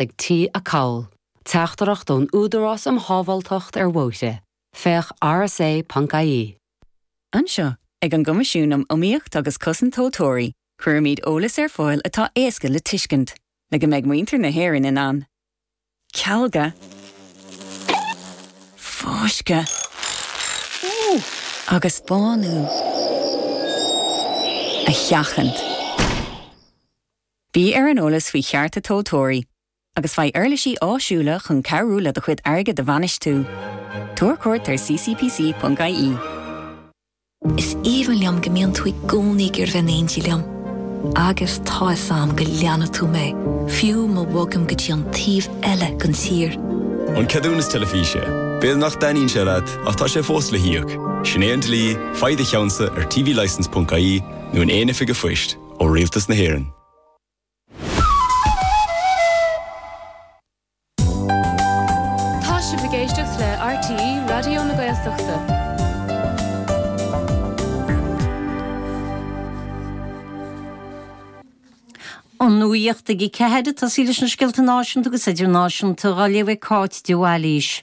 ag T Acaill. Teachtaireacht ón Údarás um Shábháilteacht ar Bhóithre. Féach rsa.ie. Anseo, ag an gCoimisiún um Iomaíocht agus Cosaint Tomhaltóirí, cuirimid eolas ar fáil atá éasca le tuiscint, le go mbeidh muintir na hÉireann in ann cealga, fáisceadh agus bánú a sheachaint. Bí ar an eolas faoi chearta tomhaltóirí agus faigh uirlisí áisiúla chun cabhrú le do chuid airgid a bhainistiú. Tabhair cuairt ar ccpc.ie. Is aoibhinn liom go mbíonn tú i gcónaí ag iarraidh bheith in éindí liom. Agus tá 'fhios a'm go leanfaidh tú mé, fiú má bhogaim go dtí an taobh eile den tír. An ceadúnas teilifíse. B'fhéidir nach dtaitníonn sé leat, ach tá sé fós le híoc. Sin é an dlí, faigh do cheannsa ar tvlicence.ie nó in aon oifig an phoist, ó Rialtas na hÉireann. Tá sibh ag éisteacht le RTÉ Raidió na Gaeltachta. An nuacht ag 4, ag tosaí leis na scéalta náisiúnta agus idirnáisiúnta á léamh ag Cáit de Bhailís.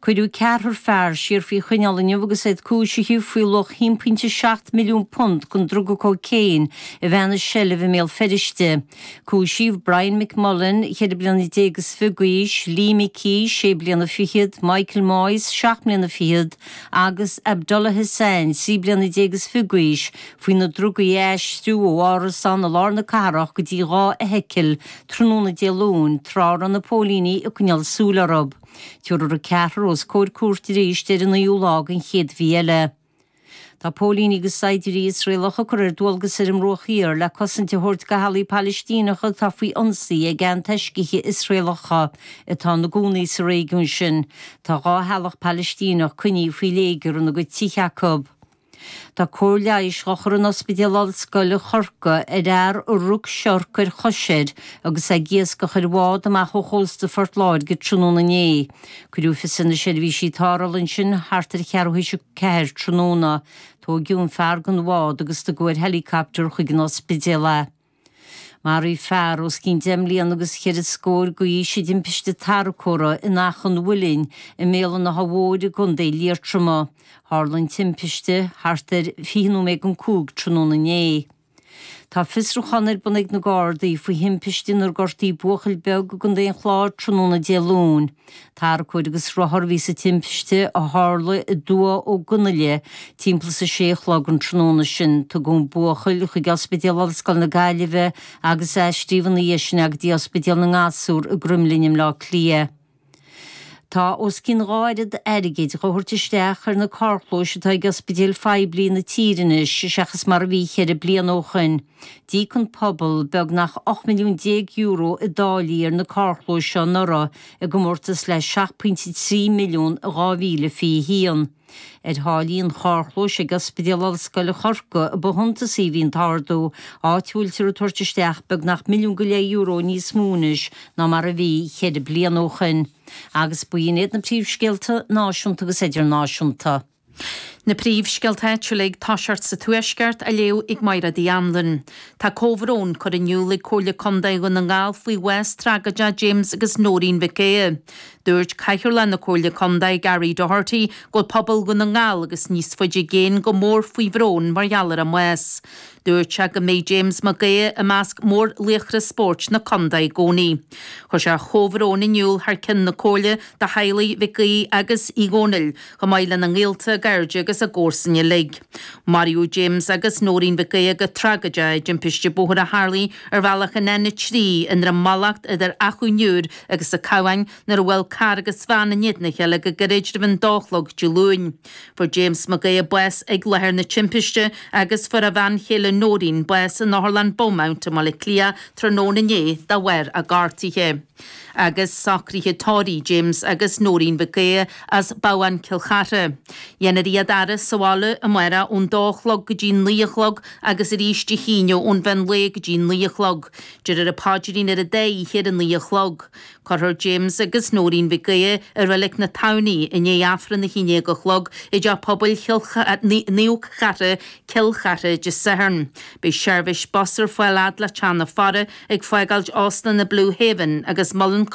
Cuireadh ceathrar fear siar faoi choinneáil inniu agus iad cúisithe faoi luach £1.7 milliún den druga cócaon a bheith ina seilbh i mBéal Feirste. Cúisíodh Brian McMullen, 24 bliana d'aois, Lee McKee, sé bliana fichead, Michael Moyes, seacht mbliana fichead, agus Abdullah Hassan, 13 bliana d'aois, faoi na drugaí a aistriú ó árasán i lár na cathrach go dtí 2 fheithicil tráthnóna Dé Luain tráth a raibh na póilíní ag coinneáil súil orthu. Tabharfar an ceathrar os comhair cúirte arís ar an naoú lá den chéad mhí eile. Tá póilíní agus saighdiúirí Iosraelacha curtha ar dualgas ar an mBruach Thiar le cosaint a thabhairt do theaghlaigh Palaistíneacha atá faoi ionsaí ag antoiscithe Iosraelacha atá ina gcónaí sa réigiún sin. Tá 2 theaghlach Palaistíneach coinnithe faoi léigear ina gcuid tithe acu. Tá cóir leighis dhá chur in Ospidéal Ollscoile Chorcaí ar fhear a rug siorc ar chois air agus é ag iascach ar bhád amach ó chósta Phort Láirge tráthnóna inné. Cuireadh fios ar na seirbhísí tarrthála ansin thart ar cheathrú théis a ceathair tráthnóna. Tóigeadh an fear den bhád agus tugadh ar helicopter chuig an ospidéal é. Maraíodh fear os cionn deich mbliana agus cheithre scór d'aois i dtimpiste tarracóra in Achadh an Mhuilinn i mBéal an Átha Mhóir i gContae Liatroma. Tharla an timpiste thart ar 20 nóiméad don 5 tráthnóna inné. Tá fiosrúchán ar bun ag na Gardaí faoi thimpiste inar gortaíodh buachaill beag i gContae an Chláir tráthnóna Dé Luain. Tarracóir agus rothar a bhí sa timpiste a tharla i dTuath Ó gConaile timpeall is a sé a chlog an tráthnóna sin. Tugadh an buachaill chuig Ospidéal Ollscoile na Gaillimhe agus aistríodh ina dhiaidh sin é go dtí Ospidéal na nGasúr i gCroimlinn i mBleá Cliath. Tá os cionn 2 oiread airgid dhá thabhairt isteach ar na carrchlóis atá ag ospidéil phoiblí na tíre anois seachas mar a bhí cheithre bliana ó shoin. D'íoc an pobal beagnach €18 milliún i dtáillí ar na carrchlóis seo anuraidh i gcomórtas le 7.3 milliún i 2021. Ar tháillí an charrchlóis ag Ospidéal Ollscoile Chorcaí a ba shuntasaí a bhí an t-ardú, áit a bhfuiltear ag tabhairt isteach beagnach €1.5 milliún níos mó anois ná mar a bhí cheithre bliana ó shoin. Agus b'in iad na príomhscéalta náisiúnta agus idirnáisiúnta. Na príomhscéalta áitiúla ag toiseacht sa Tuaisceart á léamh ag Mairéad Uí Anluain. Tá comhbhrón curtha in iúl ag Comhairle Contae Dhún na nGall faoi bhás tragóideach James agus Nóirín Mhic Aodha. Dúirt Cathaoirleach na Comhairle Contae, Gary Doherty, go bhfuil pobal Dhún na nGall agus níos faide i gcéin go mór faoi bhrón mar gheall ar a mbás. Dúirt sé go mbeidh James Mac Aodha i measc mórlaochra spóirt na contae i gcónaí. Chuir sé a chomhbhrón in iúl thar cionn na Comhairle do theaghlaigh Mhic Aoidh agus Uí Dhónaill, chomh maith lena ngaolta, a gcairde agus a gcomharsain uilig. Maraíodh James agus Nóirín Mhic Aodha go tragóideach i dtimpiste bóthair a tharlaigh ar bhealach an N3 i nDroim Mallacht idir Achadh an Iúir agus an Cabhán nuair a bhuail carr agus veain in éadan a chéile go gairid roimh an dó a chlog Dé Luain. Fuair James Mac Aodha bás ag láthair na timpiste agus fuair a bhean chéile Nóirín bás in Otharlann Beaumont i mBaile Átha Cliath tráthnóna inné de bharr a gortuithe. Agus socruithe tórraimh James agus Nóirín Mhic Aodha as Babhán Cill Chartha. Dhéanfar iad a fhaire sa bhaile amárach ón dó a chlog go dtí 9 a chlog agus arís Dé hAoine ón mheán lae go dtí 9 a chlog. Déarfar an paidrín ar an dá oíche ar a 9 a chlog. Cuirfear James agus Nóirín Mhic Aodha i Reilig na Tamhnaí i ndiaidh Aifreann a haon déag a chlog i dTeach Pobail Naomh Cartha, Cill Chartha, Dé Sathairn. Haven. Beidh seirbhís bus ar fáil fhad le Teach na Fara ag fágáilt Óstlanna Blue Haven agus Mullin.